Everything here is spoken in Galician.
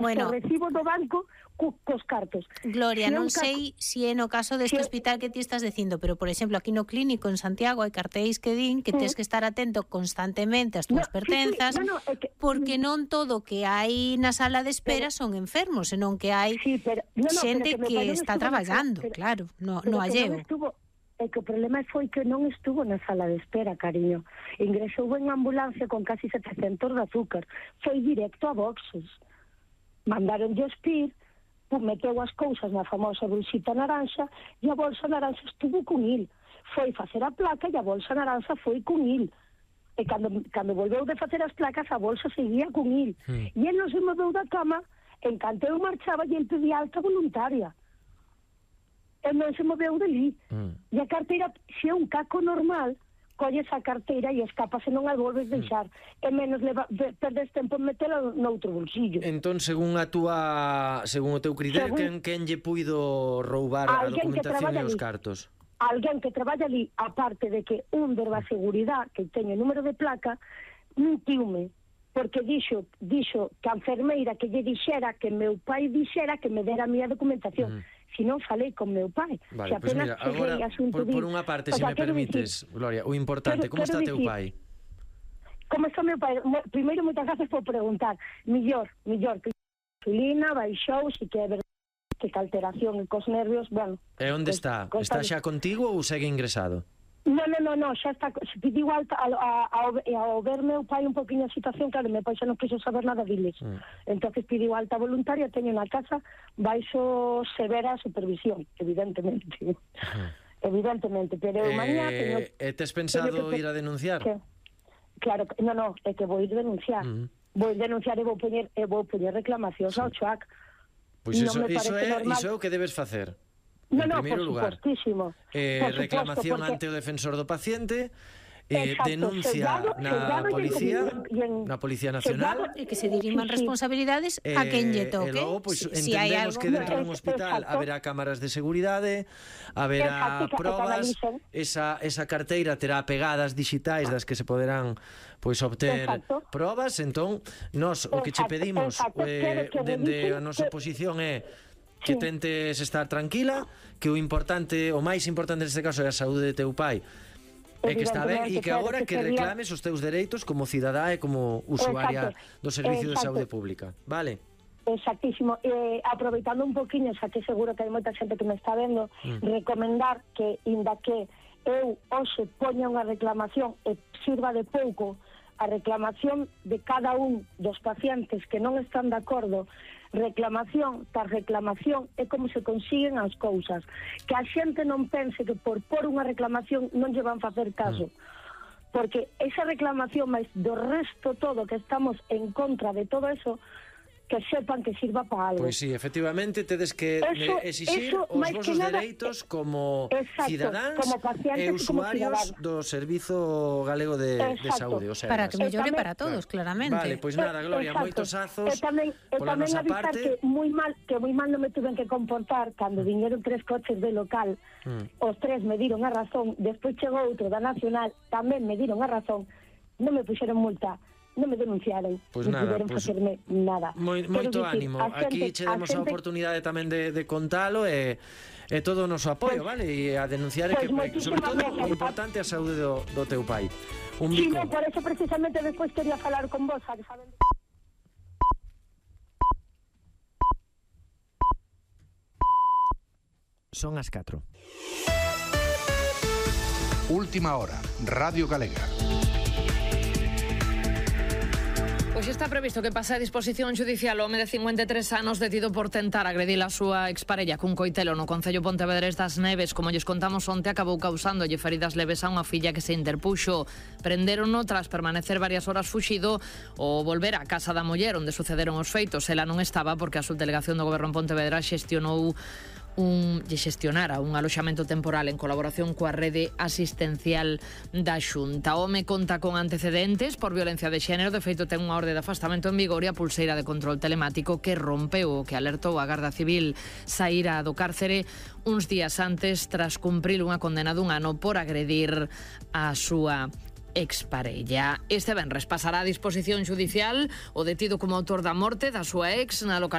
Bueno, o recibo do banco cos cartos. Gloria, non sei se é no caso deste hospital que ti estás dicindo, pero, por exemplo, aquí no clínico en Santiago hai cartéis que din que tens que estar atento constantemente ás túas pertenzas, porque non todo o que hai na sala de espera son enfermos, senón que hai xente que está traballando, claro, no alleo. É que o problema foi que non estuvo na sala de espera, cariño. Ingresou en ambulancia con casi 700 de azúcar. Foi directo a boxes. Mandaron de espir, meteu as cousas na famosa bolsita naranxa e a bolsa naranxa estuvo con il. Foi facer a placa e a bolsa naranxa foi con il. E cando volveu de facer as placas, a bolsa seguía con il. E el non se moveu da cama, en canto eu marchaba e el pedía alta voluntaria. El non se moveu dali. E a carteira, se é un caco normal, colles a carteira e escapas e non a volves deixar. E menos perdes tempo en metela noutro bolsillo. Entón, según o teu criterio, quen lle puido roubar a documentación e os cartos? Alguén que traballa ali, aparte de que un verba seguridade, que teño número de placa, mentiume, porque dixo que a enfermeira que lle dixera que meu pai dixera que me dera a miña documentación. Si non falei con meu pai. Vale, pois mira, agora, por unha parte, se me permites, Gloria, o importante, como está teu pai? Como está meu pai? Primeiro, moitas gracias por preguntar. Millor, que insulina, baixou, si que é verdade que alteración e cos nervios, bueno. E onde está? Está xa contigo ou segue ingresado? No, xa está, pediu alta ao ver meu pai un poquinho a situación, claro, meu pai xa non quiso saber nada diles. Entonces pediu alta voluntaria, teño na casa baixo severa supervisión, evidentemente. Evidentemente, pero mañá teño... tes pensado ir a denunciar? Claro, no, é que vou ir denunciar. Vou denunciar e vou poñer reclamacións ao CHUAC. Pois iso é o que debes facer. En primeiro lugar, reclamación ante o defensor do paciente, denuncia na Policía Nacional, e que se diriman responsabilidades a quen lle toque. E logo, entendemos que dentro dun hospital haberá cámaras de seguridade, haberá probas, esa carteira terá pegadas digitais das que se poderán obter probas. Entón, nós o que che pedimos dende a nosa posición é que tentes estar tranquila, que o máis importante neste caso é a saúde de teu pai, e que está ben, e que agora que reclames os teus dereitos como cidadá e como usuaria do Servicio de Saúde Pública, vale? Exactísimo. Aproveitando un poquinho, xa que seguro que hai moita xente que me está vendo, recomendar que, inda que eu hoxe poña unha reclamación e sirva de pouco a reclamación de cada un dos pacientes que non están de acordo, reclamación tras reclamación é como se consiguen as cousas. Que a xente non pense que por unha reclamación non lle van facer caso. Porque esa reclamación, máis do resto todo que estamos en contra de todo eso, que sepan que sirva para algo. Pois sí, efectivamente, tedes que exixir os vosos dereitos como cidadáns e usuarios do Servizo Galego de Saúde. Para que mellore para todos, claramente. Vale, pois nada, Gloria, moitos azos pola nosa parte. Que moi mal non me tuven que comportar cando viñeron 3 coches de local, os 3 me diron a razón, despois chegou outro da Nacional, tamén me diron a razón, non me puxeron multa, non me denunciaron, non puderon facerme nada. Moito ánimo, aquí che demos a oportunidade tamén de contalo e todo o noso apoio, vale? E a denunciar que, sobre todo, o importante é a saúde do teu pai. Un bico. Sí, por eso precisamente despois quería falar con vos, saben? Son as 4. Última hora, Radio Galega. Pois está previsto que pase a disposición judicial o home de 53 anos detido por tentar agredir a súa exparella cun coitelo no concello Pontevedrés das Neves. Como lles contamos onte, acabou causándolle feridas leves a unha filla que se interpuxo. Prendérono tras permanecer varias horas fuxido ou volver á casa da muller onde sucederon os feitos. Ela non estaba porque a subdelegación do Goberno en Pontevedra xestionara un aloxamento temporal en colaboración coa rede asistencial da Xunta. O home conta con antecedentes por violencia de xénero, de feito ten unha orde de afastamento en vigor e a pulseira de control telemático que rompeu o que alertou a Garda Civil. Saíra do cárcere uns días antes tras cumprir unha condena dun ano por agredir a súa exparella. Este venres pasará a disposición judicial o detido como autor da morte da súa ex na localidade